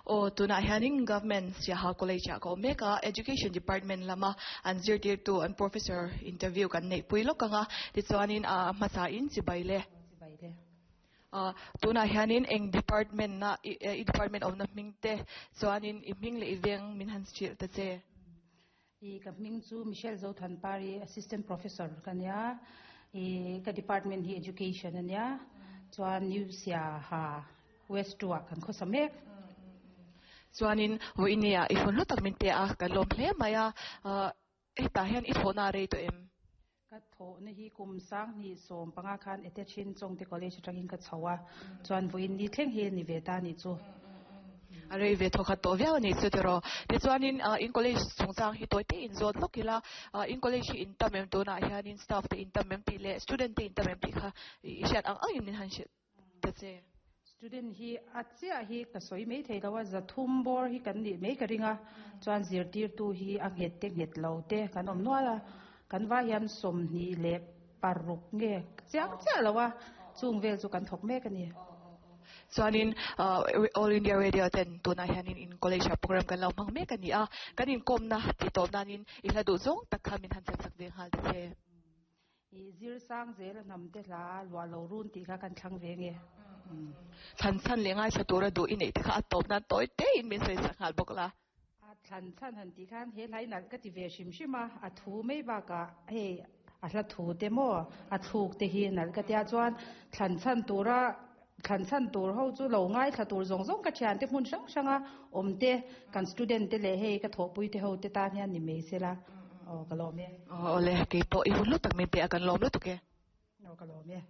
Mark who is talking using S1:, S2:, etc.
S1: Aw, tunah hianin Government Siaha College ah ka awm mek a, Education Department lama an zirtirtu an Professor interview kan neihpui lawk ang a, tichuanin a hmasa in chibai le.
S2: Chibai le.
S1: Ah, tunah hianin eng department na i department awmna hming te chuanin i hming leh i veng min han hrilh ta che.
S2: I ka hming chu Michelle Zothanpari, Assistant Professor ka nia. I ka department hi Education a nia. Chuan New Siaha West 2 ah kan khawsa mek.
S1: Chuanin vawinia i hun hlu tak min pe a, kan lawm hle mai a. Hetah hian i thawhna a rei tawh em?
S2: Ka thawhna hi kum 2015 khan Etechin Chawngte College atangin ka chho a, chuan vawiin ni thleng hi ni ve ta a nih chu.
S1: A rei ve thawkhat tawh viau a nih chu tiraw. Tichuanin in college chungchang hi tawi te in zawt lawk ila, in college hi in tam em tunah hianin staff te in tam em tih leh student te in tam em tih kha i hriat ang angin min han hrilh ta che.
S2: Student hi a chiah hi ka sawi mai thei lo a, 300 bawr hi kan nih mai ka ring a, chuan zirtirtu hi a nghet te nghet lo te kan awm nual a, kan vai hian 26 nge chiang chiah lo a, chung vel chu kan thawk mek a ni.
S1: Chuanin All India Radio ten tunah hianin in college ah program kan lo hmang mek a ni a, kan inkawmna tih tawp nanin i hla duh zawng tak kha min han chan chak ve nghal ta che.
S2: I zir sang zel a hnam te hla luah lo run tih kha kan thlang ve nge.
S1: Thlan chhan leh ngaithla tura duh i neih te kha a tawp nan tawi te in min sawi sak nghal bawk la.
S2: A thlan chhan han tih khan he hlai nalh ka ti ve hrim hrim a, a thu mai bakah hei a hla thu te maw a thluk te hi nalh ka tia chuan thlan chhan tura thlan chhan tur ho chu lo ngaithla tur zawng zawng ka thian te hmun hrang hranga awm te kan student te leh hei ka thawhpui te ho te tan hian ni mai sela aw ka lawm e.
S1: Aw le keipawh i hun lutak min pe a kan lawm lutuk e.
S2: Aw ka lawm e.